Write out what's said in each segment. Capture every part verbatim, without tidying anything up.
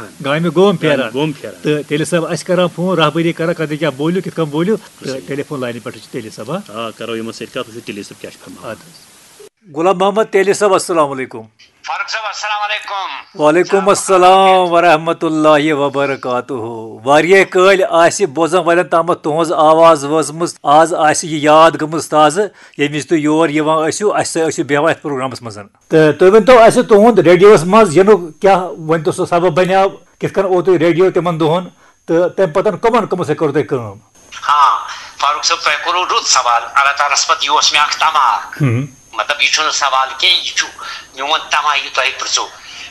گامہِ گوم پھیران۔ گوم پھیران۔ تہٕ تیلی صٲب، اَسہِ کران فون، رہبری کران، کتہِ کیٛاہ بوٗلِو، کِتھ کٔنۍ بوٗلِو، تہٕ صحیح۔ ٹیلی فون لاینہِ پٮ۪ٹھ چھُ تیلی صٲب، ہا؟ آ، کرو یِمن سۭتۍ کتھ، وٕچھو تیلی صٲب کیٛاہ چھُ فرماوان۔ اَدٕ حظ۔ غلام محمد تیلی صٲب، السلام علیکم۔ فاروق صٲب، السلام علیکم۔ وعلیکم السلام ورحمۃ اللہ وبرکاتہ۔ واریاہ کٲلۍ آسہِ بوزن والٮ۪ن تامَتھ تُہنٛز آواز وٲژمٕژ، آز آسہِ یہِ یاد گٔمٕژ تازٕ، ییٚمہِ وِزِ تُہۍ یور یِوان ٲسِو، اَسہِ سۭتۍ ٲسِو بیٚہوان یَتھ پروگرامَس منٛز۔ تہٕ تُہۍ ؤنۍ تو اَسہِ، تُہُنٛد ریڈیوَس منٛز یِنُک کیٛاہ، ؤنۍ تو، سُہ سبب بنیٛاو، کِتھ کٔنۍ اوٚو تُہۍ ریڈیو تِمَن دۄہَن، تہٕ تَمہِ پَتہٕ کَمَن کَمَن سۭتۍ کٔرٕو تۄہہِ کٲم؟ ہاں، فاروق صٲب، تۄہہِ کوٚروٕ رُت سوال۔ اللہ تعالیٰ ہَس پَتہٕ یہِ اوس مےٚ اَکھ تَماہ۔ ہُم۔ مطلب، یہِ چھُنہٕ سوال کینٛہہ، یہِ چھُ میون تَماہ، یہِ تۄہہِ پِرٛژھو۔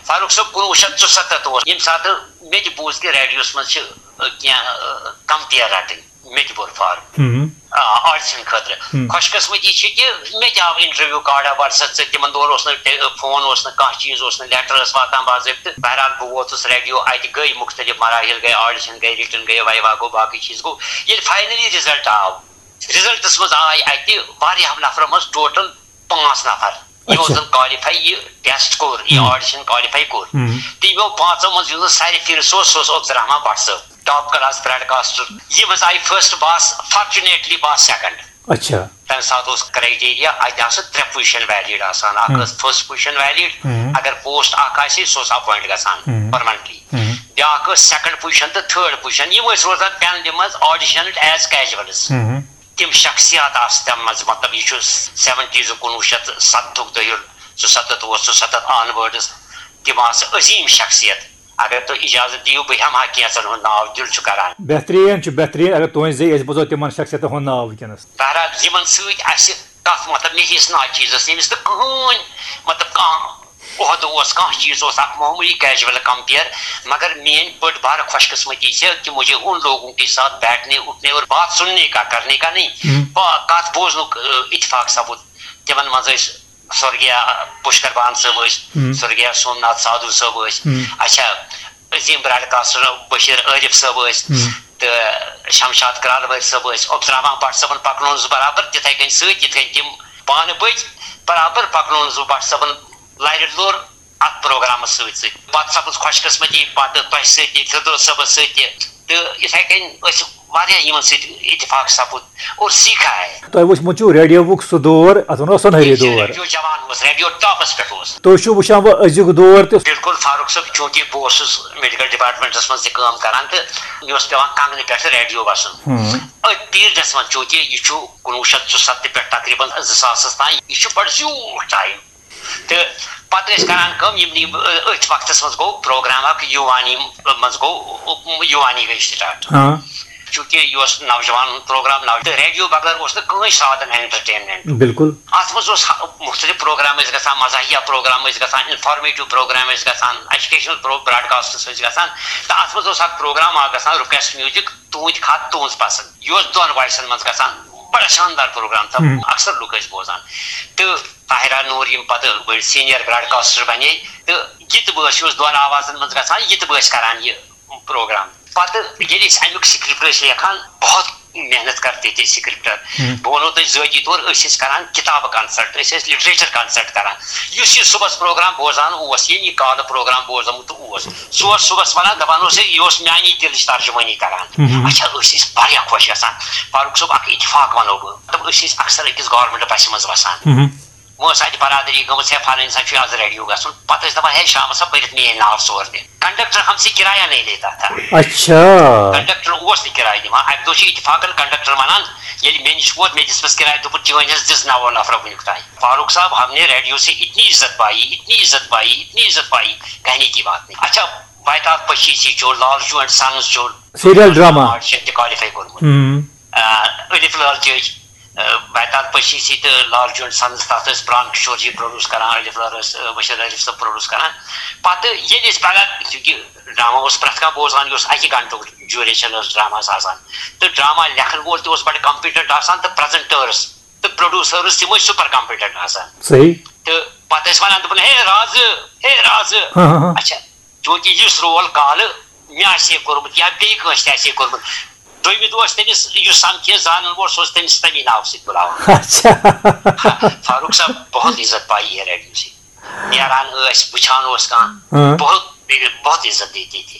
فاروق صٲب، کُنوُہ شیٚتھ ژُسَتَتھ اوس، ییٚمہِ ساتہٕ مےٚ تہِ بوٗز کہِ ریڈیوَس منٛز چھِ، ٲ، کینٛہہ، ٲ، کَمپِیَر رَٹٕنۍ۔ مےٚ تہِ بوٚر فارم۔ ہُم۔ آ، آڈیشن خٲطرٕ۔ ہُم۔ خۄش قٕسمتی چھِ کہِ مےٚ تہِ آو انٹرویو کارڈا WhatsApp سۭتۍ، تِمن دۄہن اوس نہٕ ٹے-، فون اوس نہٕ، کانٛہہ چیٖز اوس نہٕ، لیٹر ٲس واتان باضٲبطہٕ۔ بہرحال، بہٕ ووتُس ریڈیو، اتہِ گٔے مُختٔلِف مراحل، گٔے آڈیشن، گٔے رِٹن، گٔے وایوا گوٚو، باقٕے چیٖز گوٚو۔ ییٚلہِ فاینلی رِزلٹ آو، رِزلٹس منٛز آے اتہِ واریاہو نفرو منٛز ٹوٹل پانٛژھ نفر، یِمو اچھا۔ زن کالِفاے یہِ ٹیسٹ کوٚر، یہِ ہُم۔ آڈیشن کالِفاے کوٚر۔ ہُم۔ تہٕ یِمو پانٛژو منٛز یُس زن سارِ فِرِ سوز، سُہ اوس عبدالرحمان بٹ صٲب، ٹاپ کلاس براڈکاسٹر۔ یہِ منٛز آیہِ فرسٹ بہٕ آس، فارچُنیٹلی بہٕ آس سیکنڈ۔ اچھا۔ تمہِ ساتہٕ اوس کرائٹیریا، اتہِ آسہٕ ترٛےٚ پُزیشن ویلڈ آسان، اکھ ہُم۔ ٲس فرسٹ پُزیشن ویلڈ، ہُم۔ اگر پوسٹ اکھ آسہِ، سُہ اوس اپوینٹ گژھان ہُم۔ پرماننٹلی۔ ہُم۔ بیٛاکھ ٲس سیکنڈ پُزیشن تہٕ تھٲرڈ پُزیشن، یِم ٲسۍ روزان پینلہِ منٛز آڈیشن ایز کیجولز۔ ہُم۔ تِم شخصیات آسہٕ تَمہِ منٛز، مطلب، یہِ چھُ سیونٹیٖز، کُنوُہ شیٚتھ ستتُک دٔہِل، ژُسَتتھ اوس، ژُسَتتھ آن ورڈس، تِم آسہٕ عظیٖم شخصیت۔ اگر تُہۍ اجازت دِیِو، بہٕ ہٮ۪مہٕ ہا کینٛژن ہُنٛد ناو، دِل چھُ کران۔ بہتریٖن چھُ، بہتریٖن۔ اگر تُہنٛزِ ذٔریعہٕ أسۍ بوزو تِمن شخصیتن ہُنٛد ناو وٕنکیٚنس۔ بہرحال، یِمن سۭتۍ اَسہِ کتھ، مطلب، مےٚ ہیٚچھ ناچیٖزس، ییٚمِس نہٕ کٕہٕنۍ، مطلب، کانٛہہ عہدٕ اوس، کانٛہہ چیٖز اوس، اکھ معموٗلی کیجول کمپیر، مگر میٲنۍ بٔڑ بار خۄش قٕسمتی چھےٚ کہ مجھے ان لوگوں کے ساتھ بیٹھنے، اٹھنے اور بات سننے کا، کرنے کا نہیں، ہم۔ با-، کتھ بوزنُک، ٲ، اتفاق سپُد۔ تِمن منٛز ٲسۍ سورگیا پُشکر بان صٲب ٲسۍ، ہم۔ سورگیا سومناتھ سادھو صٲب ٲسۍ، ہم۔ اچھا، عظیٖم براڈکاسٹر بشیر عارف صٲب ٲسۍ، ہم۔ تہٕ شمشاد کرالوٲرۍ صٲب ٲسۍ۔ عبدالرحمان بٹ صٲبن پکنوونس بہٕ برابر تِتھے کٔنۍ سۭتۍ، یِتھ کٔنۍ تِم پانہٕ پٔکۍ، برابر پکنوونس بہٕ بٹ صٲبن لرِ لوٚر اتھ پروگرامس سۭتۍ سۭتۍ۔ پتہٕ سپٕز خۄش قٕسمتی پتہٕ تۄہہِ سۭتۍ تہِ، فردوس صٲبس سۭتۍ تہِ۔ تہٕ یِتھے کٔنۍ ٲسۍ واریاہ یِمن سۭتۍ اتفاق سپُد اور سیٖکھا ہے۔ تۄہہِ وٕچھمُت چھُو ریڈیوُک سُہ دور، اتھ ونو سۄنہری ییٚلہِ دور۔ ریڈیو جوان اوس، ریڈیو ٹاپس پٮ۪ٹھ اوس۔ تُہۍ چھِو وٕچھان وۄنۍ أزیُک دور تہِ۔ بِلکُل فاروق صٲب، چوٗنٛکہِ بہٕ اوسُس میڈیکل ڈپارٹمنٹس منٛز تہِ کٲم کران تہٕ مےٚ اوس پٮ۪وان کنگنہٕ پٮ۪ٹھٕ ریڈیو وسُن۔ ہُم۔ أتھۍ پیٖریڈس منٛز، چوٗنٛکہِ یہِ چھُ کُنوُہ شیٚتھ ژُسَتتھ پٮ۪ٹھ تقریباً زٕ ساسس تام، یہِ چھُ بڑٕ زیوٗٹھ ٹایم۔ تہٕ پتہٕ ٲسۍ کران کٲم، یِم، یِم، أتھۍ وقتس منٛز گوٚو پروگرام اکھ یوٗوانی منٛز گوٚو، یوٗوانی گٔے سٹارٹ۔ ہاں۔ چوٗنٛکہِ یہِ اوس نوجوان ہُنٛد پروگرام، نو-، تہٕ ریڈیو بغٲر اوس نہٕ کٕہٕنۍ سادن انٹرٹینمنٹ۔ بِلکُل۔ اتھ منٛز اوس ہا-، مُختٔلِف پروگرام ٲسۍ گژھان، مزاحیہ پروگرام ٲسۍ گژھان، انفارمیٹو پروگرام ٲسۍ گژھان، ایجوکیشنل پرو-، براڈکاسٹس ٲسۍ گژھان، تہٕ اتھ منٛز اوس اکھ پروگرام اکھ گژھان، رِکویسٹ میوٗزک، تُہنٛدۍ خط، تُہنٛز پسنٛد۔ یہِ اوس دۄن وایسن منٛز گژھان، بڑٕ شاندار پروگرام تہٕ ہم۔ اکثر لُکھ ٲسۍ بوزان۔ تہٕ طاہرہ نوٗر، یِم پتہٕ بٔڑۍ سینئر براڈکاسٹر بنے، تہٕ یہِ تہِ بٲتھ اوس دۄن آوازن منٛز گژھان، یہِ تہِ بٲتھ کران یہِ پروگرام۔ پتہٕ ییٚلہِ أسۍ امیُک سکرپٹ ٲسۍ لیکھان، بہت محنت کرتے تھے سکرپٹر۔ ہم۔ بہٕ ونو تۄہہِ ذٲتی طور، أسۍ ٲسۍ کران کتابہٕ کنسلٹ، أسۍ ٲسۍ لٹریچر کنسلٹ کران۔ یُس یہِ صبحس پروگرام بوزان اوس، ییٚمہِ یہِ کالہٕ پروگرام بوزمُت اوس، سُہ اوس صبحس ونان، دپان اوس ہے، یہِ اوس میانی دلٕچ ترجمٲنی کران۔ ہم۔ اچھا، أسۍ ٲسۍ واریاہ خۄش گژھان۔ فاروق صٲب، اکھ اتفاق ونو بہٕ، مطلب، أسۍ ٲسۍ اکثر أکِس گورنمنٹ بسہِ منٛز وسان۔ ہم۔ وۄنۍ ٲس اَتہِ برادری گٔمٕژ، ہے، فلٲنۍ سا چھُ آز ریڈیو گژھُن۔ پتہٕ ٲسۍ دَپان، ہے، شامَس ہا پٔرِتھ میٛٲنۍ ناو ژور تہِ۔ کنڈکٹر ہم سے کرایہ نہیں لیتا تھا۔ اچھا۔ کنڈکٹر اوس نہٕ کِراے دِوان۔ اَکہِ دۄہ چھُ اتفاقن کنڈکٹر وَنان، ییٚلہِ مےٚ نِش ووت، مےٚ دِژمَس کِراے، دوٚپُن، "چٲنۍ حظ دِژ نَوَو نفرو وٕنیُک تام۔" فاروق صٲب، ہم نے ریڈیو سے اتنی عزت پائی، اتنی عزت پائی، اتنی عزت پائی، کہنے کی بات نہیں۔ اچھا، بیتاب پچیسی چھُ، لالچو اینڈ سنز چھُ، سیریل ڈرامہ۔ آڈیشن تہِ کوالیفائی کوٚرمُت۔ ہم۔ آ، الف لال چٲج۔ آ، بیتاب پچیسی تہٕ لالچو اینڈ سنز، تَتھ ٲسۍ پران کشور جی پروڈیوس کران، الف لال ٲسۍ، آ، بشیر عارف صٲب پروڈیوس کران۔ پتہٕ ییٚلہِ أسۍ پگاہ، چونکہ ڈرامہ اوس پرٛٮ۪تھ کانٛہہ بوزان، یہِ اوس اَکہِ گھنٹُک ڈیوریشن ٲس ڈراماہَس آسان۔ تہٕ ڈرامہ لیکھن وول تہِ اوس بڑٕ کمپیٹنٹ آسان، تہٕ پریزنٹٲرٕس تہٕ پروڈیوسٲرٕس تِم ٲسۍ سُپر کمپیٹنٹ آسان۔ صحیح۔ تہٕ پتہٕ ٲسۍ ونان، دوٚپُن، "ہے رازٕ، ہے رازٕ۔" ہاں، ہاں، ہاں۔ اچھا، چونکہ یُس رول کالہٕ مےٚ آسہِ ہے کوٚرمُت یا بیٚیہِ کٲنٛسہِ تہِ آسہِ ہے کوٚرمُت، دوٚیمہِ دۄہ اوس تٔمِس یُس سمکھِ ہے زانن وول، سُہ اوس تٔمِس تَمی ناوٕ سۭتۍ بُلاوان۔ اچھا۔ فاروق صٲب، بہت عزت پائی ہے ریڈیو سے۔ نیران ٲسۍ، وٕچھان اوس کانٛہہ، ہاں۔ بہت بہت عزت دیتی تھی۔